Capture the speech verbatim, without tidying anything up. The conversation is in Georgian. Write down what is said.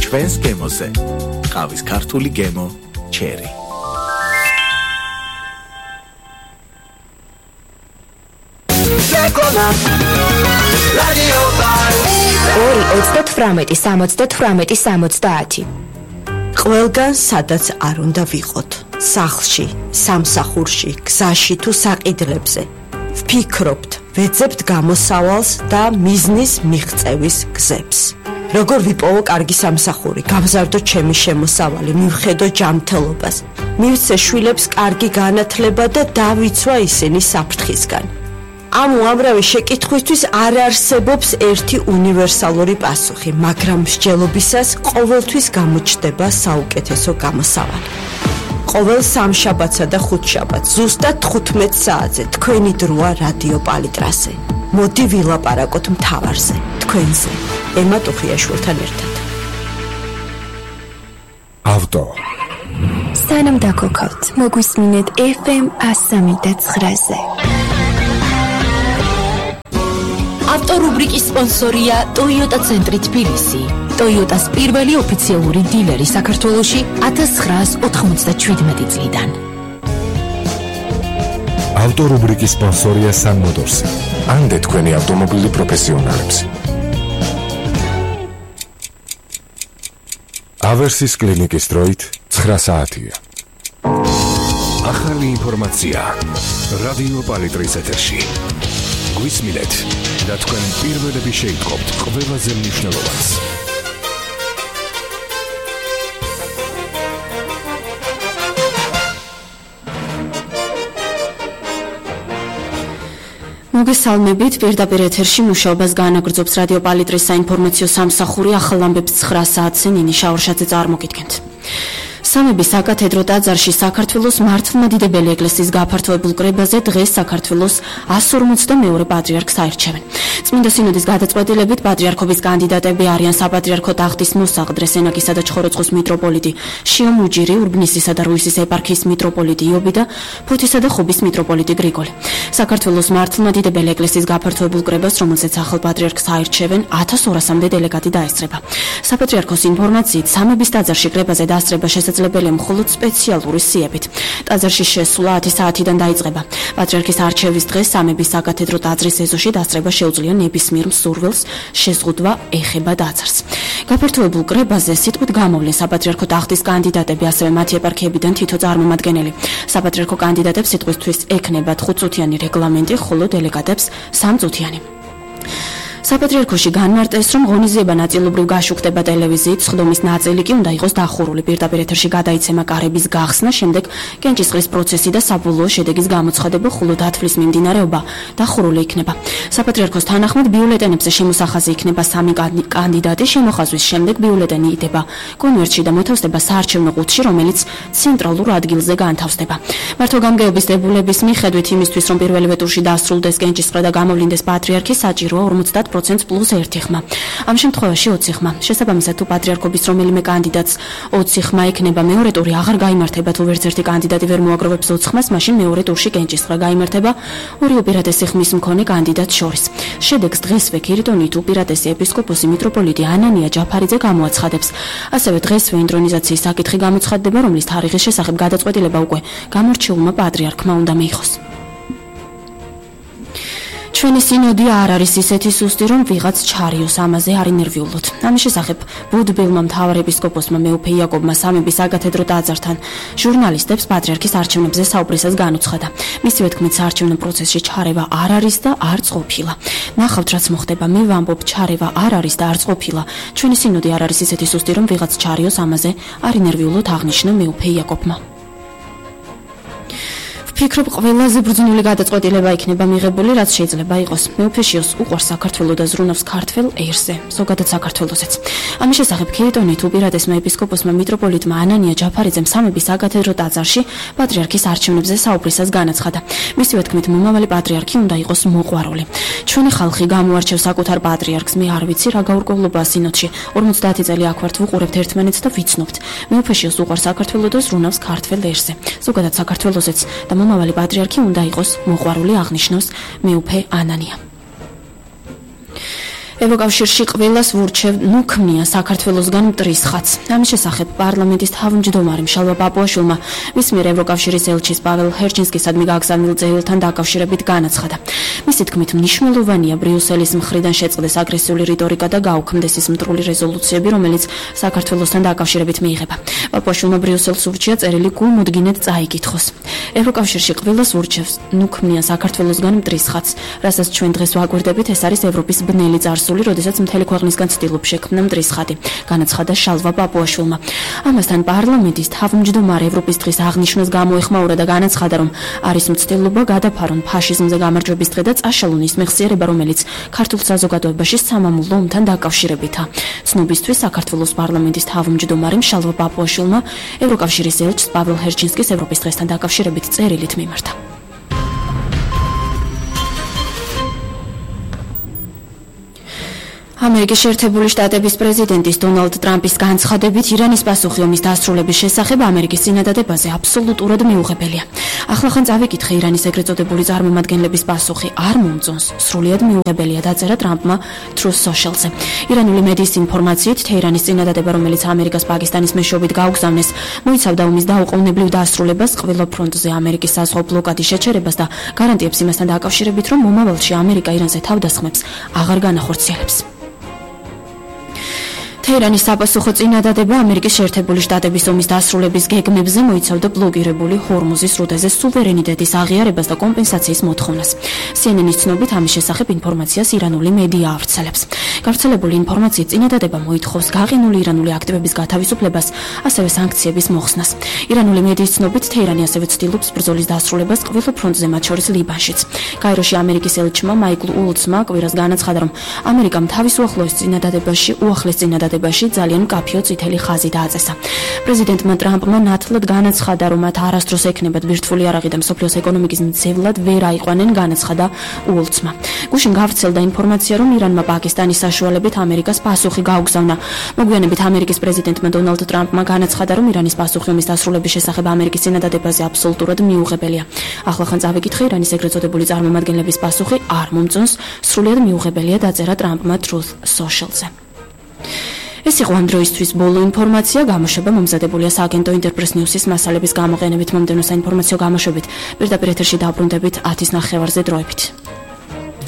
ჩვენს გემოზე ყავის ქართული გემო ჩერი. ორი ოცდათვრამეტი სამოცდათვრამეტი სამოცდაათი. ყველგან სადაც არ უნდა ვიყოთ, სახლში, სამსახურში, გზაში თუ საყიდლებზე. ვფიქრობთ, ვეძებთ გამოსავალს და მიზნის მიღწევის გზებს. როგორ ვიპოვო კარგი სამსახური, გავზარდო ჩემი შემოსავალი, მივხედო ჯანმრთელობას, მივცე შვილებს კარგი განათლება და დავიცვა ისინი საფრთხისგან. ამ უამრავი შეკითხვისთვის არ არსებობს ერთი უნივერსალური პასუხი, მაგრამ მსჯელობისას ყოველთვის გამოჩნდება საუკეთესო გამოსავალი. ყოველ სამშაბათსა და ხუთშაბათს ზუსტად თხუთმეტ საათზე თქვენი დროა რადიო პალიტრაზე. მოდი ვილაპარაკოთ მთავარზე, თქვენზე, ემა ტუხიაშვილთან ერთად. ავტო. სანამ დაგოქავთ, მოგვისმინეთ ეფ ემ ასამი და ცხრაზე. ავტორუბრიკის სპონსორია Toyota ცენტრი თბილისი. Toyota-ს პირველი ოფიციალური დილერი საქართველოში ათას ცხრაას ოთხმოცდაშვიდმეტი წლიდან. ავტორუბრიკის სპონსორია Sun Motors. ამდე თქვენი ავტომობილი პროფესიონალებს. ავერსის კლინიკის დროით ცხრა საათია. ახალი ინფორმაცია რადიო პალიტრის ეთერში. გვისმინეთ და თქვენ პირველები შეიტყობთ ყველაზე მნიშვნელოვანს. მოგესალმებით, პირდაპირ ეთერში მუშაობას განაგრძობს რადიო პალიტრის საინფორმაციო სამსახური. ახალ ამბებს ცხრა საათზე ნინი შაურშაძე წარმოგიდგენთ. სამების საკათედრო ტაძარში საქართველოს მართლმადიდებელი ეკლესიის გაფართოებულ კრებაზე დღეს საქართველოს ასი ორმოცდამეორე პატრიარქს აირჩევენ. წმინდა სინოდის გადაწყვეტილებით პატრიარქობის კანდიდატები არიან საპატრიარქო ტახტის მოსაყდრე სენაკისა და ჩხოროწყუს მიტროპოლიტი შიო მუჯირი, ურბნისისა და რუისის ეპარქიის მიტროპოლიტი იობი და ფოთისა და ხობის მიტროპოლიტი გრიგოლი. საქართველოს მართლმადიდებელი ეკლესიის გაფართოებულ კრებას, რომელზეც ახალ პატრიარქს აირჩევენ, ათას ორასამდე დელეგატი დაესწრება. საპატრიარქოს ინფორმაციით, სამების ტაძარში კრებაზე დასწრება შესაძლებელია მხოლოდ სპეციალური სიებით. ტაძარში შესვლა ათი საათიდან დაიწყება. პატრიარქის არჩევის დღეს სამების საკათედრო ტაძრის ეზოში დასწრება შეუძლია ნებისმიერ მსურველს, შეზღუდვა ეხება ტაძარს. გაფართოებულ კრებაზე სიტყვით გამოვლენ საპატრიარქო ტახტის კანდიდატები, ასევე მათი ეპარქიებიდან თითო წარმომადგენელი. საპატრიარქო კანდიდატებს სიტყვისთვის ექნებათ ხუთწუთიანი რეგლამენტი, ხოლო დელეგატებს სამწუთიანი. საპატრიარქოში განმარტეს, რომ ღონისძიება ნაწილობრივ გაშუქდება ტელევიზიით, სხდომის ნაწილი კი უნდა იყოს დახურული. პირდაპირ ეთერში გადაიცემა კარების გახსნა, შემდეგ კენჭისყრის პროცესი და საბოლოო შედეგის გამოცხადება, ხოლო დათვლის მიმდინარეობა დახურული იქნება. საპატრიარქოს თანახმად ბიულეტენებზე შემოსახაზი იქნება სამი კანდიდატი, შემოხაზვის შემდეგ ბიულეტენი იდება კონვერტში და მოთავსდება საარჩევნო ყუთში, რომელიც ცენტრალურ ადგილზე განთავსდება. მართვა-გამგეობის დებულების მიხედვით იმისთვის, რომ პირველივე ტურში დასრულდეს კენჭისყრა და გამოვლინდეს პატრიარქი, საჭიროა ორმოცდაათ პროცენტს პლუს ერთი ხმა. ამ შემთხვევაში ოცი ხმა. შესაბამისად, თუ პატრიარქობის რომელიმე კანდიდატს ოცი ხმა ექნება, მეორე ტური აღარ გაიმართება. თუ ვერც ერთი კანდიდატი ვერ მოაგროვებს ოცი ხმას, მაშინ მეორე ტურში კენჭისყრა გაიმართება ორი უპირატესი ხმის მქონე კანდიდატს შორის. შედეგს დღესვე ქირიტონით უპირატესი ეპისკოპოსი მიტროპოლიტი ანანია ჯაფარიძე გამოაცხადებს. ასევე დღესვე ინტრონიზაციის საკითხი გამოცხადდება, რომლის თარიღის შესახებ გადაწყვეტილება უკვე გამორჩეულმა პატრიარქმა უნდა მიიღოს. ჩვენი სინოდი არ არის ისეთი სუსტი, რომ ვიღაც ჩარიოს, ამაზე არ ინერვიულოთ. ამის შესახებ ბუდბილმა მთავარ ეპისკოპოსმა მეუფე იაკობმა სამების საკათედრო ტაძართან ჟურნალისტებს პატრიარქის არჩევნებზე საუბრისას განუცხადა. მისივე თქმით, საარჩევნო პროცესში ჩარევა არ არის და არც ყოფილა. ნახავთ, რაც მოხდება, მე ვამბობ, ჩარევა არ არის და არც ყოფილა. ჩვენი სინოდი არ არის ისეთი სუსტი, რომ ვიღაც ჩარიოს, ამაზე არ ინერვიულოთ, აღნიშნა მეუფე იაკობმა. ვფიქრობ, ყველაზე ბრძნული გადაწყვეტილება იქნება მიღებული, რაც შეიძლება იყოს. მეუფეშიოს უყვარს საქართველო და ზრუნავს ქართველ ერზე, ზოგადად საქართველოსაც. ამის შესახებ ქირიტონით უპირატესმა ეპისკოპოსმა მიტროპოლიტმა ანანია ჯაფარიძემ სამების საკათედრო ტაძარში პატრიარქის არჩევნებზე საუბრისას განაცხადა. მისივე თქმით, მომავალი პატრიარქი უნდა იყოს მოყვარული. ჩვენი ხალხი გამოარჩევს საკუთარ პატრიარქს, მე არ ვიცი რა გაურკვევლობაა სინოდში. ორმოცდაათი წელი აქ ვართ, ვუყურებთ ერთმანეთს და ვიცნობთ. მეუფეშიოს უყვარს საქართველო და ზრუნავს ქართველ ერზე, ზოგადად საქართველოსაც და მომავალი პატრიარქი უნდა იყოს მოყვარული, აღნიშნავს მეუფე ანანია. ევროკავშირში ყველას ვურჩევ ნუ ქმნიან საქართველოსგან მტრის ხატს. ამის შესახებ პარლამენტის თავმჯდომარე მშალვა პაპუაშვილმა მის მიერ ევროკავშირის ელჩის პაվել ჰერჩინსკისადმი გაგზავნილ წერილთან დაკავშირებით განაცხადა. მისი თქმით, მნიშვნელოვანია ბრიუსელის მხრიდან შეწყდეს აგრესიული რიტორიკა და გაუქმდეს ის მტრული რეზოლუციები, რომელიც საქართველოსთან დაკავშირებით მიიღება. პაპუაშვილმა ბრიუსელს ურჩია წერილი გულმოდგინედ წაიკითხოს. ევროკავშირში ყველას ვურჩევს ნუ ქმნიან საქართველოსგან მტრის ხატს, რასაც ჩვენ დღეს ვაკვირდებით, ეს არის ევროპის ბნელი წარსული, როდესაც მთელი ქვეყნისგან ცდილობს შექმნა მტრის ხატი, განაცხადა შალვა პაპუაშვილმა. ამასთან პარლამენტის თავმჯდომარე ევროპის დღის აღნიშვნას გამოეხმაურა და განაცხადა, რომ არის მცდელობა გადაფარონ ფაშიზმზე გამარჯვების დღე და წაშალონ ის მეხსიერება, რომელიც ქართულ საზოგადოებაში სამამულო ომთან დაკავშირებითაა. ცნობისთვის საქართველოს პარლამენტის თავმჯდომარემ შალვა პაპუაშვილმა ევროკავშირის ელჩს პაվել ჰერჩინსკის ევროპის დღესთან დაკავშირებით წერილით მიმართა. ამერიკის შეერთებული შტატების პრეზიდენტის დონალდ ტრამპის განცხადებით ირანის პასუხი ომის დასრულების შესახებ ამერიკის წინადადებაზე აბსოლუტურად მიუღებელია. ახლახან წავიკითხე ირანის ეგრეთ წოდებული წარმომადგენლების პასუხი არ მომწონს, სრულიად მიუღებელია, დაწერა ტრამპმა Truth Social-ზე. ირანული მედიის ინფორმაციით, თეირანის წინადადება, რომელიც ამერიკას პაკისტანის მეშვეობით გაუგზავნეს, მოიცავდა ომის დაუყოვნებლივ დასრულებას, ყველა ფრონტზე ამერიკის საზღვაო ბლოკადის შეჩერებას და გარანტიებს იმასთან დაკავშირებით, რომ მომავალში ამერიკა ირანზე თავდასხმებს აღარ განახორციელებს. თეირანის საპასუხო წინადადება ამერიკის შეერთებული შტატების ომის დასრულების გეგმებზე მოიცავდა ბლოკირებული ჰორმუზის სრუტეზე სუვერენიტეტის აღიარებას და კომპენსაციის მოთხოვნას. C N N-ის ცნობით ამის შესახებ ინფორმაციას ირანული მედია ავრცელებს. გავრცელებული ინფორმაციით წინადადება მოითხოვს გაყინული ირანული აქტივების გათავისუფლებას, ასევე სანქციების მოხსნას. ირანული მედიის ცნობით თეირანი ასევე ცდილობს ბრძოლის დასრულებას ყველა ფრონტზე, მათ შორის ლიბანშიც. გაიროში ამერიკის ელჩმა მაიკლ ულცმა კვირას განაცხადა, რომ ამერიკამ თავის უახლოეს წინადადებაში უახლეს წინადადებაში ძალიან მკაფიო წითელი ხაზი დააწესა. პრეზიდენტმა ტრამპმა ნათლად განაცხადა, რომ მათ არასდროს ექნებათ ბირთვული იარაღი და მსოფლიოს ეკონომიკის მძევლად ვერ აიყვანენ, განაცხადა ულცმა. გუშინ გავრცელდა ინფორმაცია, რომ ირანმა პაკისტანის საშუალებით ამერიკას პასუხი გაუგზავნა. მოგვიანებით ამერიკის პრეზიდენტმა დონალდ ტრამპმა განაცხადა, რომ ირანის პასუხი ომის დასრულების შესახებ ამერიკის წინადადებაზე აბსოლუტურად მიუღებელია. ახლახან წავიკითხე ირანის ეგრეთ წოდებული წარმომადგენლების პასუხი არ მომწონს, სრულიად მიუღებელია, დაწერა ტრამპმა Truth Social-ზე. ეს იყო ამ დროისთვის ბოლო ინფორმაცია, გამოშვება მომზადებულია სააგენტო ინტერპრეს ნიუსის მასალების გამოყენებით. მომდევნო საინფორმაციო გამოშვებით პირდაპირ ეთერში დაბრუნდებით ათის ნახევარზე დროებით.